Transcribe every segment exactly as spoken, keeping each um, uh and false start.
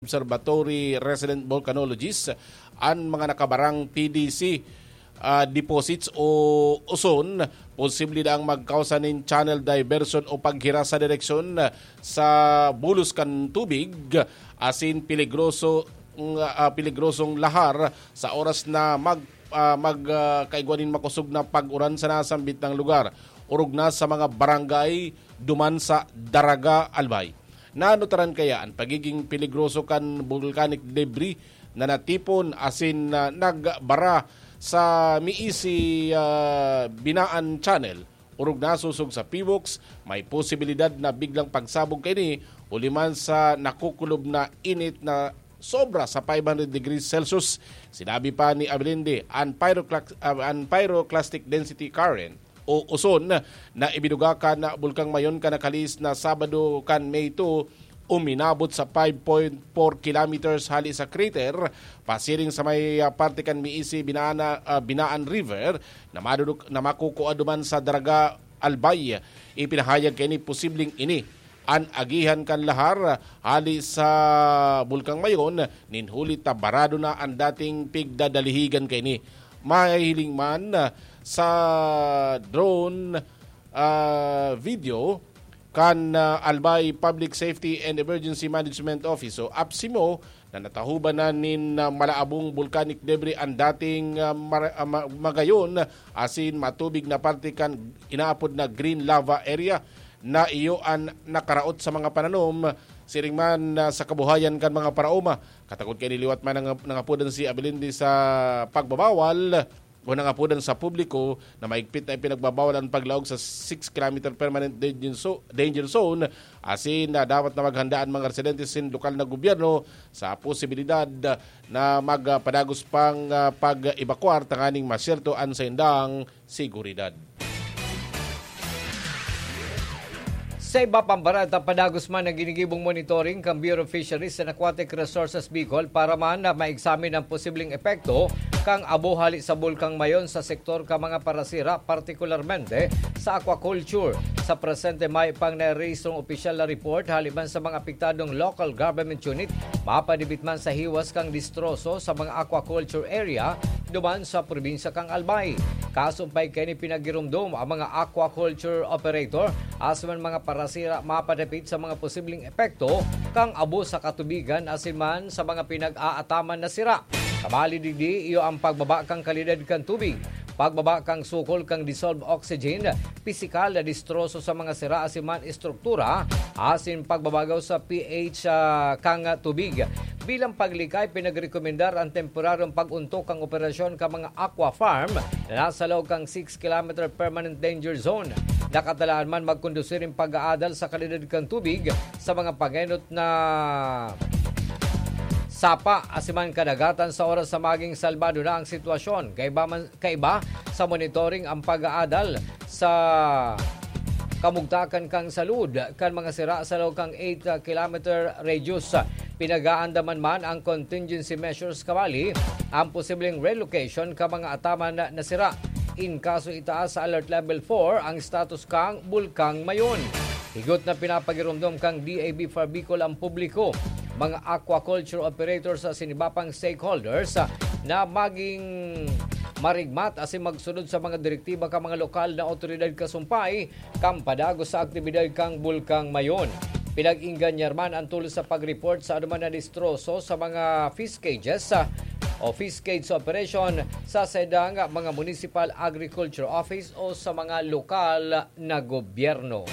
Observatory resident volcanologist, an mga nakabarang P D C, ah, deposits o uson, posible daang magkausa nin channel diversion o paghira sa direksyon sa bulos kan tubig, asin peligroso, ah, peligrosong lahar sa oras na mag-, ah, mag, ah, kaigwa nin makosog na pag-uran sa nasambit na lugar, orog na sa mga barangay duman sa Daraga, Albay. Naanotaran kaya an pagiging peligroso kan volcanic debris na natipon asin, ah, nagbara sa miisi, ah, Binaan Channel, orog nasosog sa PHIVOLCS, may posibilidad na biglang pagsabog kaini huli man sa nakukulob na init na sobra sa five hundred degrees Celsius. Sinabi pa ni Abelinde, an pyroclax-, ah, an pyroclastic density current o uson na ibinuga kan Bulkang Mayon kan nakalihis na Sabado kan May two, uminabot sa five point four kilometers hali sa crater, pasiring sa may, ah, parte kan miisi Binana-, ah, Binaan River na maduduk-, na makukua duman sa Daraga, Albay. Ipinahayag kaini posibleng ini an agihan kan lahar hali sa Bulkang Mayon nin huli ta barado na an dating pigdadalihigan kaini. Mahihiling man sa drone, ah, video kan, ah, Albay Public Safety and Emergency Management Office o APSEMO na natahuban na nin, ah, malaabong volcanic debris an dating, ah, mar-, ah, ma-, magayon asin matubig na parte kan inaapod na green lava area na iyo an nakaraot sa mga pananom, siring man, ah, sa kabuhayan kan mga paraoma. Katakod kaini liwat man nang-, nangapodan si Abelinde sa pagbabawal o nangapodan sa publiko na maigpit na ipinagbabawal an paglaog sa six kilometer permanent danger zo-, danger zone, asin na dapat na maghanda an mga residente sin lokal na gobyerno sa posibilidad na magpadagos pang, ah, pag-ebakwar tanganing masyerto an saindang seguridad. Sa iba pang bareta, padagos man ang ginigibong monitoring kan Bureau of Fisheries and Aquatic Resources Bicol para man na maexamine ang posibleng epekto kan abo hali sa Bulkang Mayon sa sektor kan mga parasira, partikularmente sa aquaculture. Sa presente, mayo pang narehistrong opisyal na report hali man sa mga apektadong local government unit, mapadibit man sa hiwas kan distroso sa mga aquaculture area duman sa probinsya kan Albay. Kasumpay kaini, pinagiromdom ang mga aquaculture operator asin man mga parasira mapadapit sa mga posibleng epekto kan abo sa katubigan asin man sa mga pinag-aataman na sira. Kabali digdi, iyo ang pagbaba kan kalidad kan tubig, pagbaba kan sukol kan dissolved oxygen, pisikal na distroso sa mga sira asin man estruktura, asin pagbabagaw sa P H, ah, kan tubig. Bilang paglikay, pinagrekomendar ang temporaryong pag-untok kan operasyon kan mga aqua farm na nasa laog kan six kilometer permanent danger zone. Nakatalaan man magkondusir ang pag-aadal sa kalidad kan tubig sa mga pangenot na sapa asin man kadagatan sa oras sa maging salbado na ang sitwasyon. Kaiba man, kaiba sa monitoring ang pag-aadal sa kamugtakan kan salud kan mga sira sa laog kan eight kilometer radius. Pinag-aandaman man ang contingency measures kabali ang posibleng relocation kan mga ataman na sira. In kaso itaas sa Alert Level four ang status kan Bulkang Mayon. Higot na pinapagiromdom kan D A B Far Bicol ang publiko, mga aquaculture operators sa sinibapang stakeholders, ah, na maging marigmat asin magsunod sa mga direktiba kan mga lokal na awtoridad kasumpay kan padagos sa aktibidad kan Bulkang Mayon. Pinag-inganyar man ang tulos sa pag-report sa anuman na distroso sa mga fish cages, ah, o fish cage operation sa saindang mga municipal agriculture office o sa mga lokal na gobyerno.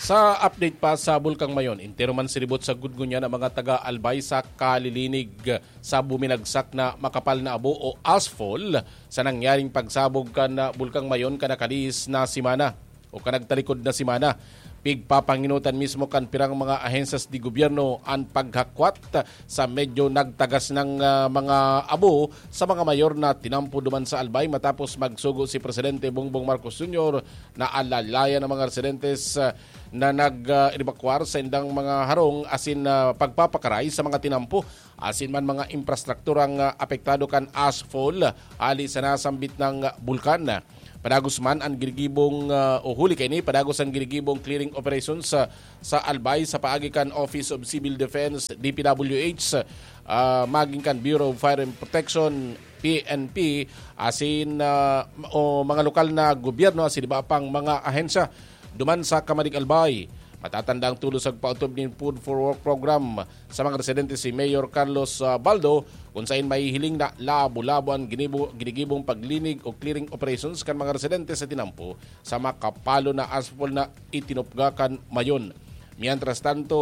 Sa update pa sa Bulkang Mayon, entero man siribot sa gudgunyan ang mga taga-Albay sa kalilinig sa buminagsak na makapal na abo o ashfall sa nangyaring pagsabog kan, ah, Bulkang Mayon kan nakalihis na semana o kan nagtalikod na semana. Pigpapangenotan mismo kan pirang mga ahensyas de gobyerno an paghakwat sa medyo nagtagas nang, ah, mga abo sa mga mayor na tinampo duman sa Albay matapos magsugo si Presidente Bongbong Marcos Junior na alalayan ang mga residentes, ah, na nag, ah, ebakwar sa indang mga harong asin, ah, pagpapakaray sa mga tinampo asin man mga infrastrukturang, ah, apektado kan ashfall hali sa nasambit na bulkan. Padagos man ang ginigibong, ah, o huli kaini, padagos ang ginigibong clearing operations sa, sa Albay sa paagi kan Office of Civil Defense, D P W H, ah, maging kan Bureau of Fire and Protection, P N P, asin, ah, o mga lokal na gobyerno asin iba pang mga ahensya duman sa Kamadig Albay. Matatanda ang tulos sa paotob nin Food for Work program sa mga residente si Mayor Carlos, ah, Baldo, kung sain mahihiling na labo-labo ang ginibo-, ginigibong paglinig o clearing operations kan mga residente sa tinampo sa makapalo na asphalt na itinupga kan Mayon. Mientras tanto,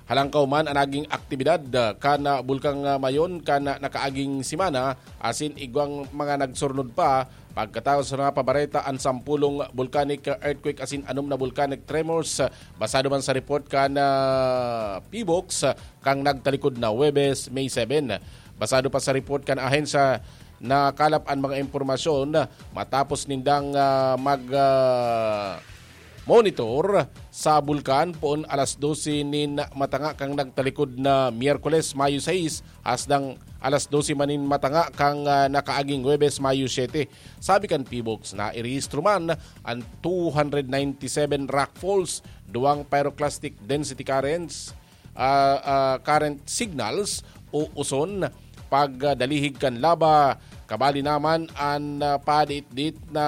halangkaw man ang naging aktibidad, ah, kan, ah, Bulkang, ah, Mayon kan, ah, nakaaging semana, asin igwang mga nagsurnod pa, pagkatapos na pabareta ang sampulong volcanic earthquake asin anom na volcanic tremors, ah, basado man sa report kan, ah, PHIVOLCS, ah, kang nagtalikod na Huwebes, May seven. Basado pa sa report kan ahensya, nakalap an mga impormasyon matapos nindang, ah, mag, ah, monitor sa bulkan poon alas dose nin matanga kang nagtalikod na Miyerkules, Mayo sais, hasdang alas dose man nin matanga kang, ah, nakaaging Huwebes, Mayo siyete. Sabi kan PHIVOLCS, nairehistro man ang two hundred ninety-seven rockfalls, duwang pyroclastic density currents, ah, ah, current signals o uson, pagdalihig kan laba, kabali naman an, ah, padit-dit na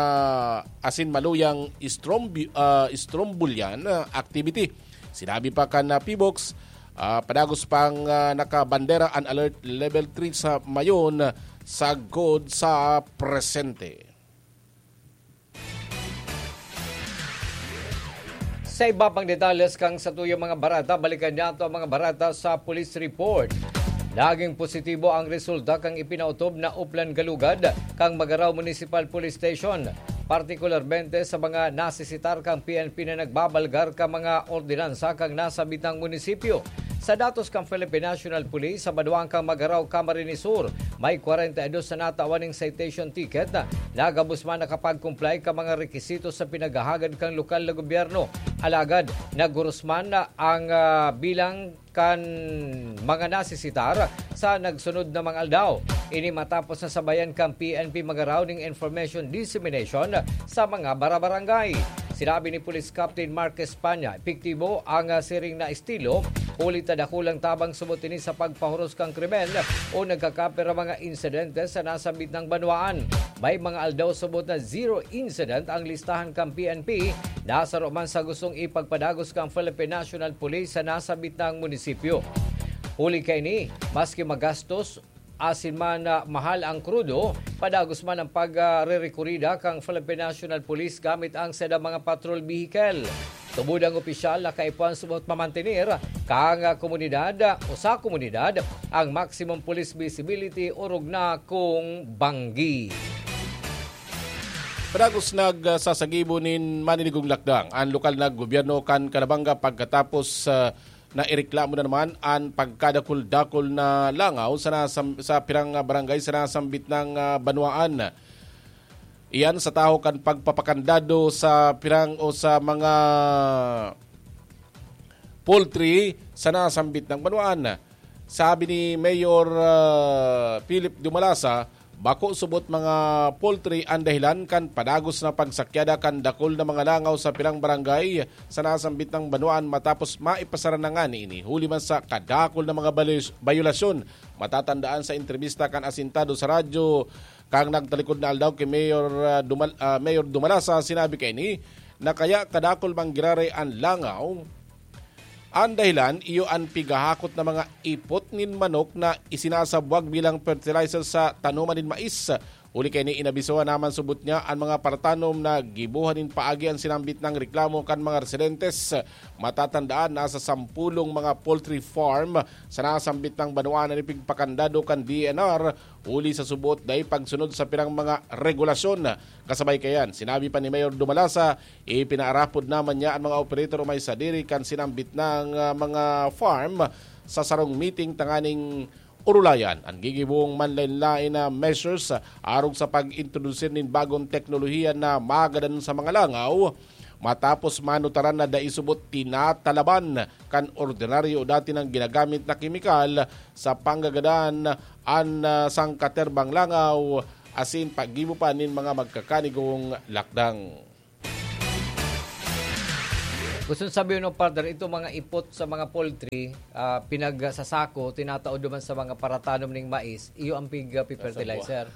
asin maluyang strombi-, ah, strombolian, ah, activity. Sinabi pa kan, ah, PHIVOLCS, ah, padagos pang, ah, nakabandera an alert level three sa Mayon sagkod sa presente. Sa iba pang detalles kan satuyang mga bareta, balikan nato ang mga bareta sa police report. Naging positibo ang resulta kan ipinautob na Oplan Galugad kan Magarao Municipal Police Station, partikularmente sa mga nasisitar kan P N P na nagbabalgar kan mga ordinansa kan nasabitang munisipyo. Sa datos kan Philippine National Police, sa banwaan kan Magarao, Camarines Sur, may kwarenta y dos na natawan nin citation ticket na gabos man nakapag-comply kan mga rekisito sa pinaghahagad kan lokal na gobyerno. Alagad, naghuros man ang, ah, bilang kan mga nasisitar sa nagsunod na mga aldaw. Ini matapos na sabayan kan P N P Magarao ning information dissemination sa mga barabarangay. Sinabi ni Police Captain Mark España, epektibo ang, ah, siring na estilo, huli ta dakulang tabang subot ini sa pagpahuros kan krimen o nagkakapira mga insidente sa nasambit na banwaan. May mga aldaw subot na zero incident ang listahan kan P N P, nasaro man sa gustong ipagpadagos kan Philippine National Police sa nasambit na munisipyo. Huli kaini, maski magastos, asin man, ah, mahal ang krudo, padagos man ang pag, ah, rerekurida kan Philippine National Police gamit ang sadang mga patrol vehicle. Tubod ang opisyal na kaipuhan subot mamantener kan, ah, komunidad, ah, o sa komunidad ang maximum police visibility, orog na kung banggi. Padagos nagsasagibo nin maninigong lakdang an lokal na gobyerno kan Calabanga pagkatapos, ah, na ireklamo na naman an pagkadakul-dakul na langaw sa nasam-, sa pirang, ah, barangay sa nasambit na, ah, banwaan. Iyan sa tahaw kan pagpapakandado sa pirang o sa mga poultry sa nasambit na banwaan. Sabi ni Mayor, ah, Philip Dumalasa, bako subot mga poultry ang dahilan kan padagos na pagsakyada kan dakul na mga langaw sa pirang barangay sa nasambit na banwaan matapos maipasara na ngani ini huli man sa kadakul na mga balis-, bayolasyon. Matatandaan sa entrebista kan asintado sa radyo kan nagtalikod na aldaw ki Mayor, ah, Dumal-, ah, Mayor Dumalasa, sinabi kaini na kaya kadakul man giraray an langaw. An dahilan, iyo an pigahakot na mga ipot nin manok na isinasabwag bilang fertilizer sa tanoman nin mais. Huli kaini, inabisohan naman subot niya an mga paratanom na gibohan nin paagi an sinambit na reklamo kan mga residentes. Matatandaan, nasa sampulong mga poultry farm sa nasambit na banwaan na ipigpakandado kan D N R huli sa subot dai pagsunod sa pirang mga regulasyon. Kasabay kayan, sinabi pa ni Mayor Dumalasa, ipinaarapod naman niya an mga operator o may sadiri kan sinambit na, ah, mga farm sa sarong meeting tanganing orulayan an gigibong manlain-lain na measures, ah, arog sa pag-introdusir nin bagong teknolohiya na magadan sa mga langaw. Matapos manutaran na dai subot tinatalaban kan ordinaryo o dati nang ginagamit na kemikal sa panggagadan an, ah, sangkaterbang langaw, asin paggibo pa nin mga magkakanigong lakdang. Gusto sabihin, no, partner, itong mga ipot sa mga poultry, ah, pinagsasako, tinatao duman sa mga paratanom ning mais, iyo ang pig, ah, fertilizer.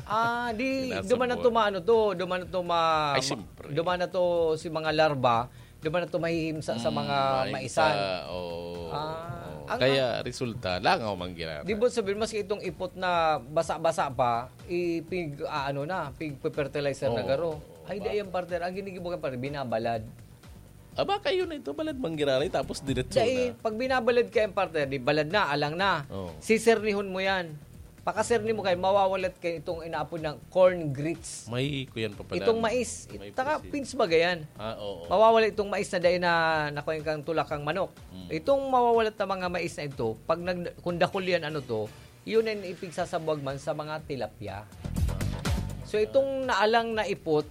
Ah, di, Sinasabwa. duman na to maano to, duman na to ma-, Ay, ma-, siyempre. duman na to si mga larva, duman na to mahihimsa sa Mm, mga mahimsa, maisan. oo. Ah, Oo. ang Kaya resulta, langaw man ginagawa. Di ba sabihin, maski itong ipot na basa-basa pa, ipig, ah, ano na, pig-fertilizer na Oo. garo. Ay, di Ba- ayan, partner. Ang ginigibo ka, partner, binabalad. Aba, kayo na ito, balad manggiraray, tapos diretso Dahil na. pag binabalad ka yung partner, di balad na, alang na. Oo. Sisernihon mo yan. Pakaserni mo kayo, mawawalat kayo itong inaapod ng corn grits. May kuyan pa pala. Itong mais, May taka, pusit. Pins ba yan? Ah, oo. Mawawala itong mais na dahil na nakuha kang tulak kang manok. Mm. Itong mawawalat na mga mais na ito, pag nag, kung dakul yan, ano to, yun ang ipigsasabwag man sa mga tilapia. So, itong naalang na ipot,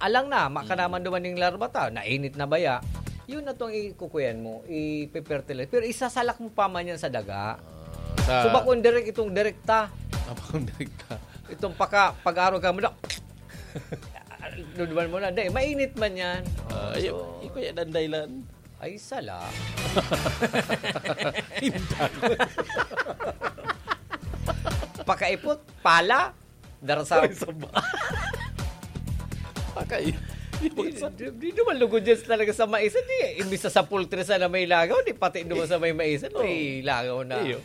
alang na, makanaman Mm. duman ning larva ta, nainit na baya, yun na tong ikukuyan mo, ipe-fertilize. Pero isasalak mo pa man yan sa daga. Ah, sa So, bakong direk itong direkta. Ah, bakong direkta. Itong paka, pag-araw ka mo na, duduman mo na, di, mainit man yan. Ah, Oh, ayun, so, ikaw yan ang dahilan. Ay, sala. Hindi. Pakaipot, pala, darasam. Ay, saba. Pakay. Di, di, di naman lugod yan talaga sa maisan. Di, imbis na sa poultry sana may lagaw, di pati naman sa may maisan, may Oo. lagaw na. Iyo.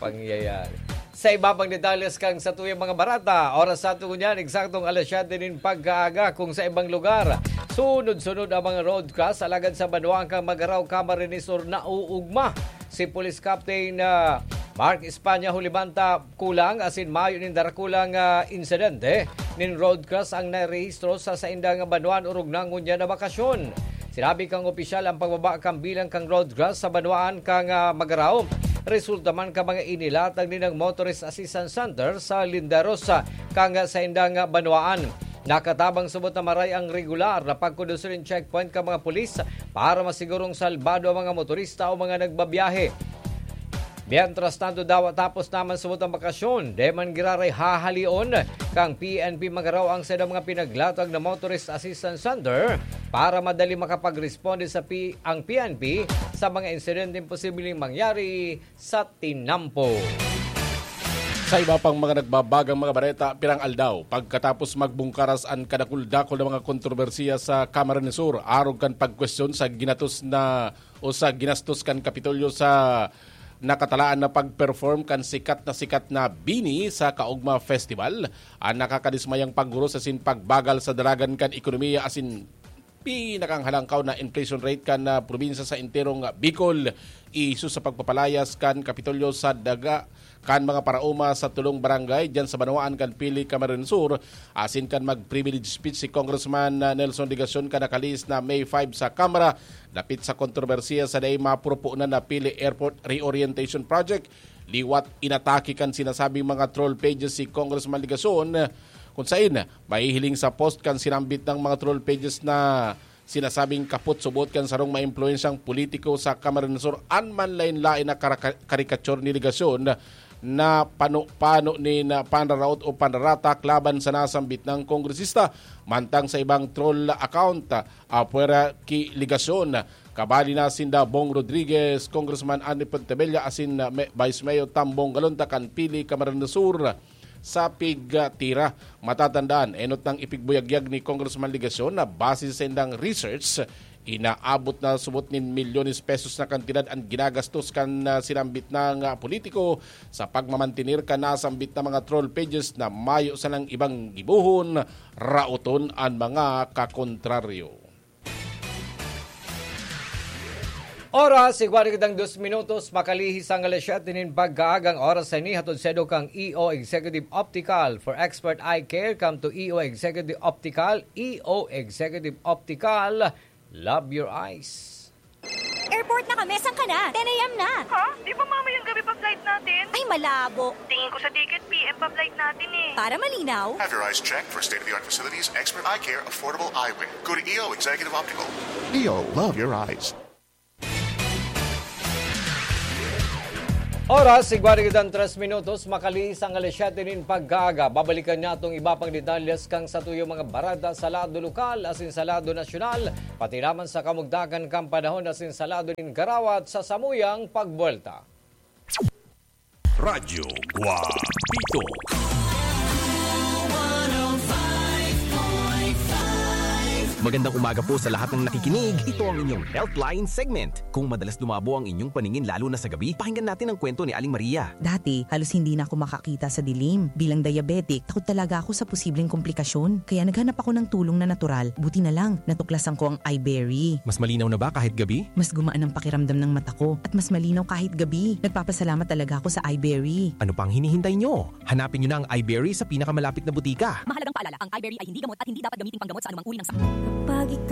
Pangyayari. Sa iba pang detalles kang satuyang mga barata, oras sa ato ngunyan, eksaktong alas siyete nin pagkaaga, kung sa ibang lugar, sunod-sunod ang mga road crash, alagad sa banwaan kang Magarao, Camarines Sur, nauugma si Police Captain, ah, Mark Espana, huli man ta kulang asin mayo nin darakulang, ah, insidente nin road crash ang narehistro sa saindang banwaan orog na ngunyan na bakasyon. Sinabi kang opisyal ang pagbaba kan bilang kan road crash sa banwaan kan, ah, Magarao. Resulta man kan mga inilatag nin Motorist Assistance Center sa Linderos, ah, kan saindang banwaan. Nakatabang subot na maray ang regular na pagkondusir nin checkpoint kan mga pulis para masigurong salbado ang mga motorista o mga nagbabiyahe. Mientras tanto, dawa tapos naman subot ang bakasyon, di man giraray hahalion kang P N P Magarao ang saindang mga pinaglatag na Motorist Assistance Center para madali makapagresponde sa P-, ang P N P sa mga insidenteng posibleng mangyari sa tinampo. Sa iba pang mga nagbabagang mga bareta, pirang aldaw pagkatapos magbungkaras an kadakul-dakul na mga kontrobersiya sa Camarines Sur, arog kan pagkwestiyon sa ginatos na o sa ginastos kan Kapitolyo sa nakatalaan na pag-perform kan sikat na sikat na BINI sa Kaugma Festival, an nakakadismayang paghuros asin pagbagal sa daragan kan ekonomiya asin pinakanghalangkaw na inflation rate kan, ah, probinsya sa enterong, ah, Bicol, iso sa pagpapalayas kan Kapitolyo sa daga kan mga paraoma sa tulong barangay diyan sa banwaan kan Pili, Camarines Sur, asin kan mag-privilege speech si Congressman, ah, Nelson Legacion kan nakalihis na May five sa Kamara dapit sa kontrobersiya sa dai mapurupunan na Pili Airport Reorientation Project. Liwat inatake kan sinasabing mga troll pages si Congressman Legacion, kung sain mahihiling sa post kan sinambit na mga troll pages na sinasabing kapot subot kan sarong maimpluwensyang politiko sa Camarines Sur an manlaen-laen na karaka-, karikature ni Legacion na pano-pano nin panraraot o panraratak laban sa nasambit na kongresista. Mantang sa ibang troll account, ah, pwera ki Legacion, kabali na sinda Bong Rodriguez, Congressman Andy Pontevilla asin, ah, Me-, Vice Mayor Tambong Galonta kan Pili, Camarines Sur, sa pigtira. Matatandaan, enot nang ipigbuyagyag ni Congressman Legacion na base sa saindang research, inaabot na subot nin milyones pesos na kantidad an ginagastos kan, ah, sinambit na nga politiko sa pagmamantener kan nasambit na mga troll pages na mayo sanang ibang gibohon, raoton an mga kakontraryo. Oras, igwa na kitang dos minutos, makalihis ang alas siyete nin pagkaagang oras sa ini, hatod sa edo kang E O Executive Optical. For expert eye care, come to E O Executive Optical. E O Executive Optical, love your eyes. Airport na kami, saan ka na? Ten A M na. Ha? Di ba mamayang gabi pa flight natin? Ay, malabo. Tingin ko sa ticket, P M pa flight natin eh. Para malinaw. Have your eyes checked for state-of-the-art facilities, expert eye care, affordable eyewear. Go to E O Executive Optical. E O, love your eyes. Oras, igwa na kitang tres minutos, makalihis ang alas siyete nin pagkaaga. Babalikan niya itong iba pang detalles kan satuyang mga bareta sa lado lokal asin sa lado nasyonal, pati naman sa kamugtakan kan panahon asin sa lado nin garawat sa samuyang pagbuwelta. Radyo Guapito. Magandang umaga po sa lahat ng nakikinig. Ito ang inyong Healthline segment. Kung madalas lumabo ang inyong paningin lalo na sa gabi, pakinggan natin ang kwento ni Aling Maria. Dati, halos hindi na ako makakita sa dilim. Bilang diabetic, takot talaga ako sa posibleng komplikasyon. Kaya naghanap ako ng tulong na natural. Buti na lang, natuklasan ko ang iBerry. Mas malinaw na ba kahit gabi? Mas gumaan ang pakiramdam ng mata ko at mas malinaw kahit gabi. Nagpapasalamat talaga ako sa iBerry. Ano pang hinihintay nyo? Hanapin nyo na ang iBerry sa pinakamalapit na butika. Mahalagang paalala, ang iBerry ay hindi gamot at hindi dapat gamiting panggamot sa anumang uri ng sakit. Kapag